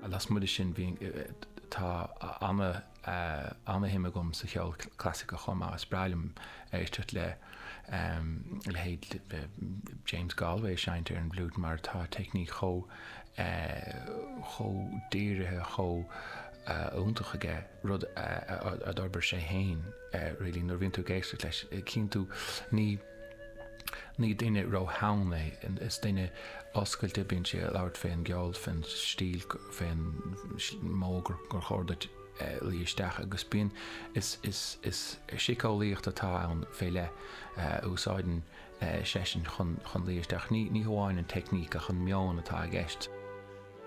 Lasmuigh de sin bhí, tá ana, ana-shuim agam sa cheol clasaiceach chomh maith. Is breá liom éisteacht le leithéid James Galway ag seinnt ar an bhfliúit mar tá teicníc chomh, chomh dírithe, chomh iontach aige, rud a d'fhorbair sé féin really. Nuair a bhíonn tú ag éisteacht leis, cíonn tú, ní, ní duine rótheann é, is duine oscailte, bíonn sé ag labhairt fén gceol, fén stíl, fén modh gur chóir duit luí isteach agus bíonn, is, is, is síceolaíocht atá ann fé leith a úsáideann seisean chun, chun luí isteach. Ní, ní hamháin an teicníc ach an meon atá i gceist.